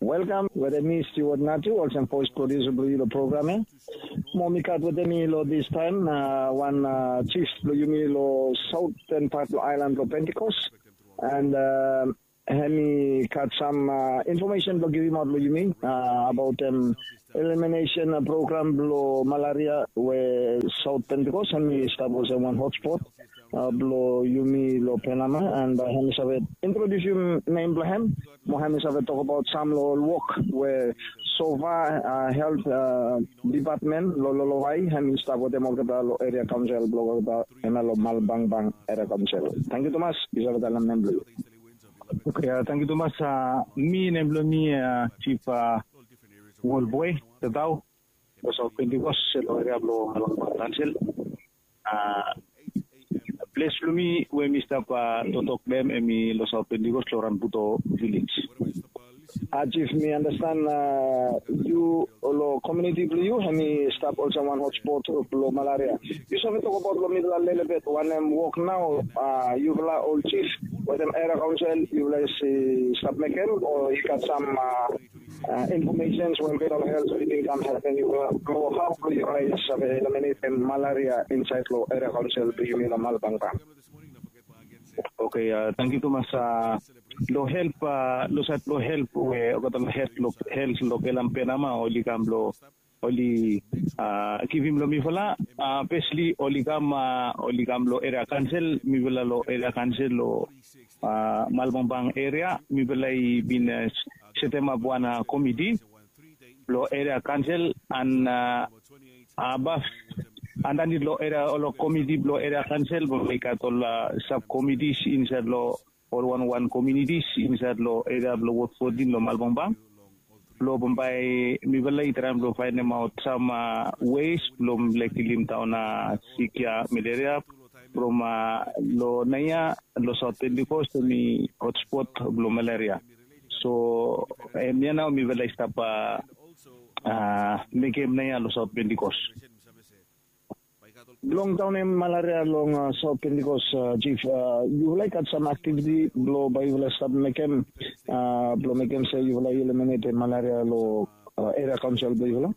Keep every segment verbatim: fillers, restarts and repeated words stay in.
Welkam wetem mi Stewart Natu olsem voes produsa blong yu long program ya. Mo mi gat wetem mi long distaem wan jif blong yumi long saoten pat long aelan blong Pentikos. And hem i gat sam infomesen blong givimaot long yumi abaot em eliminesen program blong malaria we Saot Pentikos hem i stap olsem wan hotspot blong yumi long Penama, and hem i save introdiusim nem blong hem mo hem i save tokbaot sam long ol wok we sofa helt dipatmen long Lolovai hem i stap wetem olgeta long eria kaonsel blong olgeta, hemia long Malbangbang Eria Kaonsel. Tangkiu tumas. Yu save talem nem blong yu. Oke, tangkiu tumas. Mi nem blong mi Jif Wolboe Tatau, long Saot Pentikos long eria blong Malbangbang Kaonsel. Ples blong mi we mi stap toktok long hem hem i long Saot Pentikos long Ranbuto vilej. Jif, mi andastan yu long komuniti blong yu hem i stap olsem wan hotspot blong malaria. Yu save tokbaot long mifala lelebet wanem wok nao yufala ol jif wetem eria kaonsel yufala i stap mekem, o i gat sam infomesens we olgeta ol helt i bin kam helpem yufala blong hao blong yufala i save eliminatem malaria insaed long eria kaonsel blong yumi long Malbangbang? Oke, tangkiu tumas. Long help, long saed blong help we olgeta long helt long kelam Penama oli kam blong oli givim long mifala. Fesli oli kam, oli kam long eria kaonsel, mifala long eria kaonsel long Malbangbang eria mifala i bin setemap wan komiti blong eria kaonsel, and abaf andanit long eria ol komiti blong eria kaonsel bambae i gat ol sabkomitis insaed long ol wanwan komunitis insaed long eria blong Wod fotin long Malbangbang. Blong bambae mifala i traem blong faenemaot sam wes blong mifala i kilim daon sik ya, meleria, from long naoia long Saot Pentikos hem i hotspot blong meleria. So hemia nao mifala i stap mekem naoia long Saot Pentikos. Blong daonem malaria long Saot Pentikos, Jif, yufala i gat sam aktiviti blong bae yufala stap mekem blong mekem se yufala i eliminate malaria long eria kaonsel blong yufala?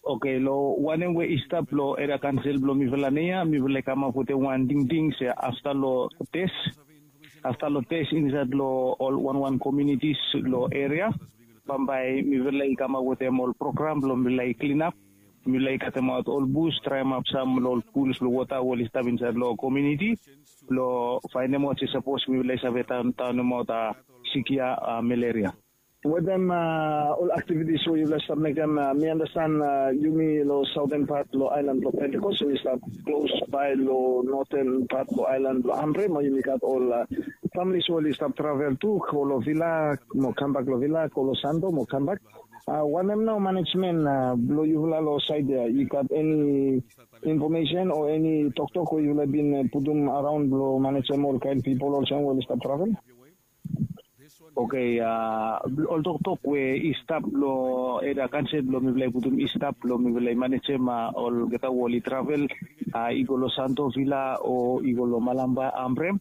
Oke, long wanem we i stap long eria kaonsel blong mifala naoia mifala i kamap wetem wan tingting se afta long tes, afta long tes insaed long ol wanwan komunitis long eria, bambae mifala i kamap wetem ol program blong mifala i klinap. Mifala i katemaot ol bus, draemap sam long ol puls blong wota we oli stap insaed long komuniti blong faenemaot se sapos mifala i save daonemaot sik ya, meleria. Wetem ol aktivitis we yufala i stap mekem, mi andastan yumi long saoten pat long aelan blong Pentikos yumi stap klosbae long noten pat long aelan blong Ambre mo yumi gat ol familis we oli stap travel tu go long vila mo kambak, long vila go long Santo mo kambak. Wanem nao manejmen blong yufala long saed ya, i gat eni infomesen o eni toktok we yufala i bin putum araon blong manejem ol kaen pipol olsem we oli stap travel? Oke, ol toktok we i stap long eria kaonsel blong mifala i putum i stap blong mifala i manejem olgeta we oli travel i go long Santo, vila o i go long Malamba, Ambre.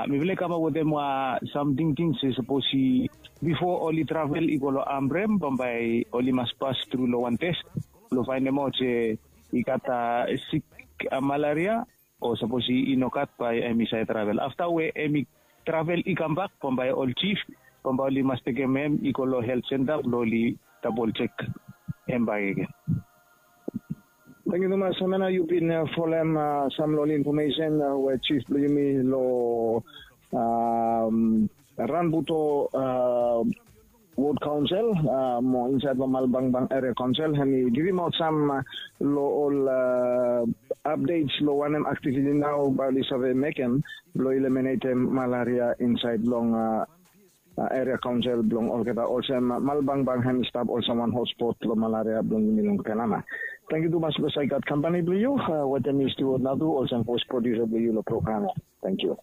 Mifala i kamap wetem wan sam tingting se sapos i bifo oli travel i go long Ambre bambae oli mas pas tru long wan tes blong faenemaot se i gat sik malaria, o sapos i no gat bae hem i save travel. Afta we hem i travel i kambak bambae ol jif bambae oli mas tekem hem i go long helt senta blong oli dabol jek hem bakegen. Tangkiu tumas. Hemia nao yu bin folem sam long ol infomesen we jif blong yumi long Ranbuto Wod Kaonsel mo insaed long Malbangbang Eria Kaonsel hem i givimaot sam long ol apdets long wanem aktiviti nao bae oli save mekem blong eliminatem malaria insaed long eria kaonsel blong olgeta olsem Malbangbang hem i stap olsem wan hotspot long malaria blong yumi long Penama. Tangkiu tumas blong save gat kampani blong yu. Wetem mi Stewart Natu olsem voes prodiusa blong yu long program ya. Tangkiu.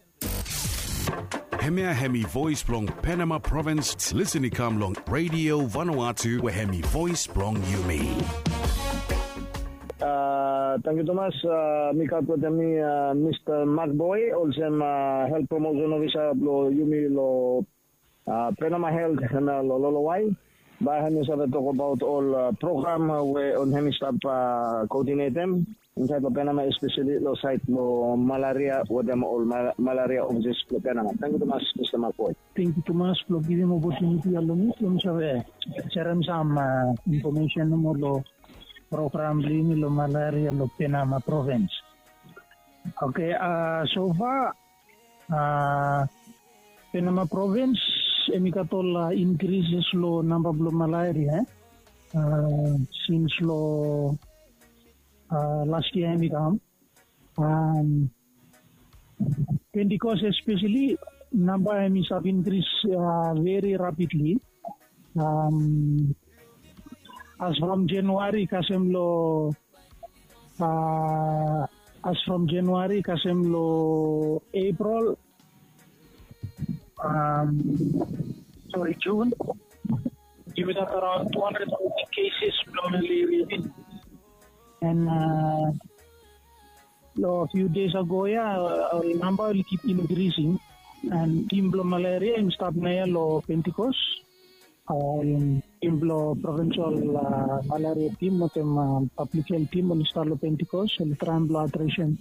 Hemia hem i voes blong Penama provins. Lisen i kam long Radio Vanuatu we hem i voes blong yumi. Tangkiu tumas. Mi gat wetem mi Mista Mak Boe olsem helt promosen ofisa blong yumi long Penama Health hemia long Lolowai. Bae hemi save tokbaot ol program we ol hemi stap koodinetem insaed long Penama, espeseli long saed blong malaria wetem ol malaria ofises blong Penama. Tangkiu tumas Mista Makboe. Tangkiu tumas blong givim opotuniti ya long mi blong mi save serem sam infomesen nomo long program blong yumi long malaria long Penama provins. Oke, sofa Penama provins hemi gat ol inkrises long namba blong malaria sins long las yia hemi kam. Pentikos espeseli namba hemi stap inkris veri rapidli. As from Januari kasem long as from Januari kasem long April, sori, June, yumi gat around two hundred fifty cases blong malaria. And long few days ago ya ol namba oli kip inkrising. And tim blong malaria hemi stap naoia long Pentikos. Tim blong provinsal malaria tim wetem pablik health tim oli stap long Pentikos, oli traem blong adresem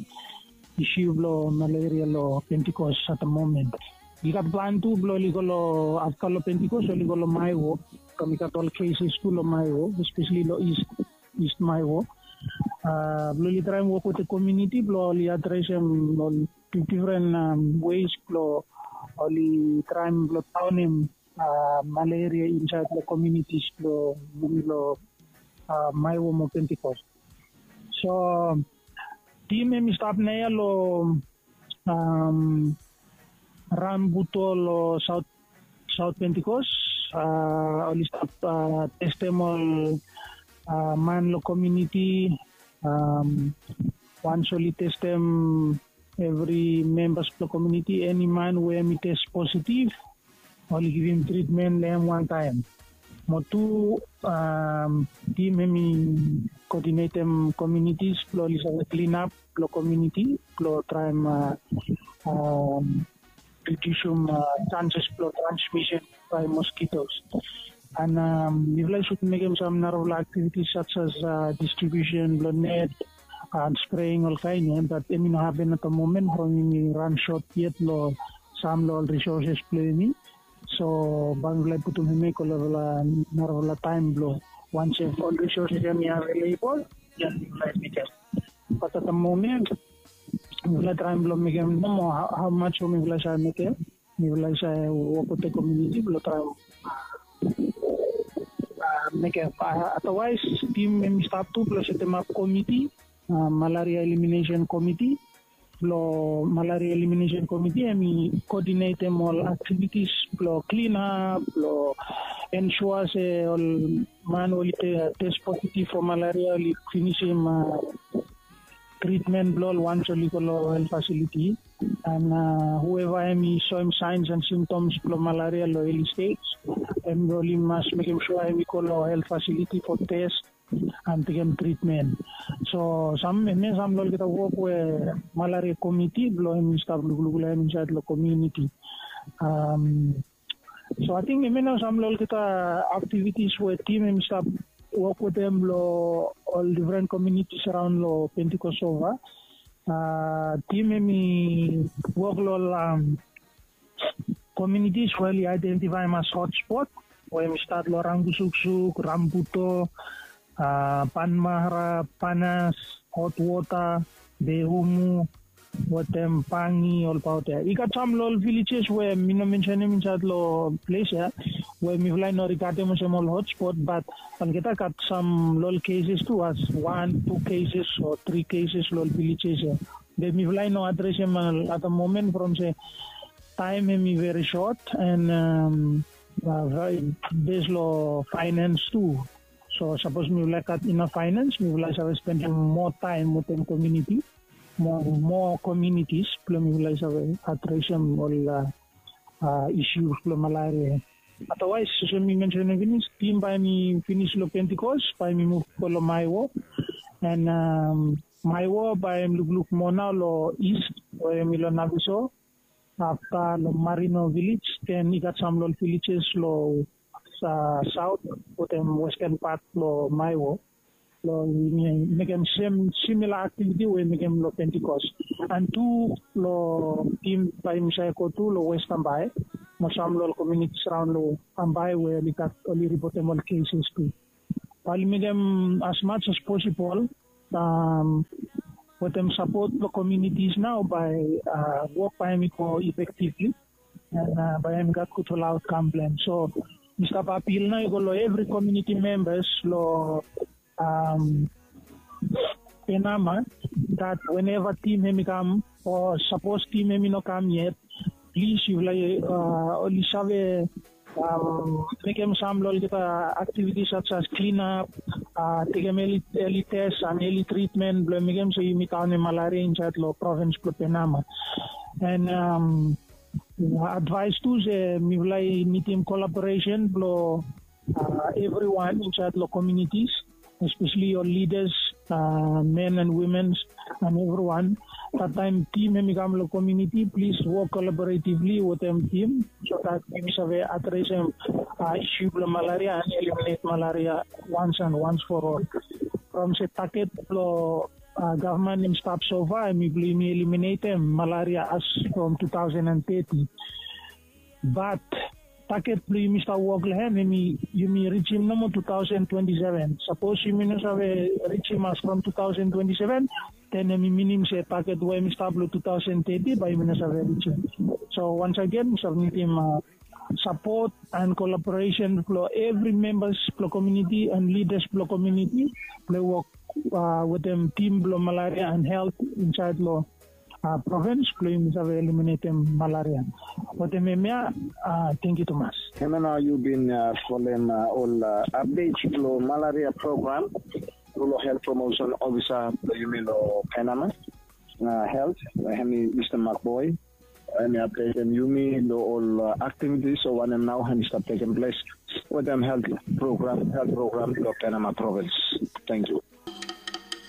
isu blong malaria long Pentikos at the moment. I gat plan tu blong oli go long afta long Pentikos oli go long Maewo. Kam i gat ol keses tu long Maewo, espeseli long East Maewo. Blong oli traem wok wetem komuniti blong oli adresem ol difdifren weis blong oli traem blong daonem malaria insaed long komunitis blong yumi long Maewo mo Pentikos. So tim hemi stap naoia long Rambuto long Saot Pentikos. Oli stap testem ol man long komuniti. Wans oli testem evri membas blong komuniti, eni man we hemi tes positiv, oli givim tritmen long hem wantaem. Mo tu, tim hemi koodinetem komunitis blong oli save klinap long komuniti blong traem ridiusum sanses blong transmisen bae moskitos. And mifala i sud mekem sam narafala aktivitis sas as distribiusen blong net and spreing olkaen ya, bat hemi no hapen at the moment from yumi ran sot yet long sam long ol risoses blong yumi. So bae mifala i putum hem ya i go long narafala taem blong wansem ol risoses ya hemi avelebol, ya mifala i mekem. Bat at the moment mifala i traem blong mekem nomo hao mas we mifala i save mekem. Mifala i save wok wetem komuniti blong traem mekem. Adawaes tim hemi stap tu blong setemap komiti, malaria eliminesen komiti. Blong malaria eliminesen komiti hemi koodinetem ol aktivitis blong klinap, blong ensua se ol man we oli tes positiv fo malaria oli finisim tritmen blong ol wans oli go long health fasiliti. And hueva hemi soem saens and simtoms blong malaria long eli stej, hem oli mas mekem sua hemi go long health fasiliti fo tes and tekem tritmen. So sam, hemia sam long olgeta wok we malaria komiti blong hemi stap lukluk long hem insaed long komuniti. So ating hemia nao sam long olgeta aktivitis we tim hemi stap wok wetem long ol difren komunitis araon long Pentikos sofa. Tim hemi wok long ol komunitis we oli aedentifaem as hotspot, we hemi stat long Rangusuksuk, Rambuto, Panmahra, Panas, Hotwota, Behumu wetem Pangi, olbaot ya. I gat sam long ol vilejes we mi no mensenem insaed long ples ya, we mifala i no rigadem olsem ol hotspot, bat olgeta gat sam long ol keses tu, as wan, tu keses o tri keses long ol vilejes ya. Be mifala i no adresem at the moment from se taem hemi veri sot, and bes long faenens tu. So sapos mifala i gat inaf faenens, mifala i save spendem moa taem wetem komuniti, moa komunitis blong mifala i save adresem ol isu blong malaria. Adawaes olsem mi mensenem finis, tim bae hemi finis long Pentikos, bae hemi muv go long Maewo. And Maewo bae hemi lukluk moa nao long East we hemi long Naviso. afta long Marino Village, then i gat sam long villages long uh, south wetem western part long Maiwo. Long mekem same similar activity we mekem long Pentecost. And tu long team by Misai Kotu long West Ambai. Mo sam long communities around long Ambai we oli gat oli reportem all cases tu. Oli mekem as much as possible um, wetem support long communities now by uh, work by mi go effectively. And uh, by mi gat good for outcome plan. So Mr. Papil na i go lo every community members lo um, Penama that whenever team hemi come or suppose team hemi no come yet, please you like uh, oli save um, mekem sam lo olgeta activities such as clean up, uh, tekem early, early test and early treatment blo mekem so yumi taonem malaria inside lo province blo Penama. And um, advice tu se mifala i nidim collaboration blo uh, everyone inside lo communities, especially your leaders, uh, men and women, and everyone. That time team hemi kam lo community, please work collaboratively with them team so that we save address them uh, issue blo malaria and eliminate malaria once and once for all. From se target blo uh, government in stop so far, mi believe mi eliminate them malaria as from two thousand and thirty. But target blo yumi stap wok long hem, yumi reach him nomo two thousand twenty-seven. Suppose yumi no save reach him as from two thousand twenty-seven, then yumi minim se target we yumi stap long two thousand thirty, but yumi no save reach him. So once again, submit him uh, support and collaboration blo every members blo community and leaders blo community blo work uh, with them team blo malaria and health inside lo uh, province blo yumi save eliminatem malaria. Wetem hemia, uh, thank you tumas. Hemia nao yu bin uh, folem uh, ol uh, updates blo malaria program blo health promotion officer blo yumi lo Penama uh, health, hemi Mr. Mark Boy. Hemi updatem yumi lo ol uh, activities o wanem nao hemi stap tekem ples wetem health program, health program lo Penama province. Thank you.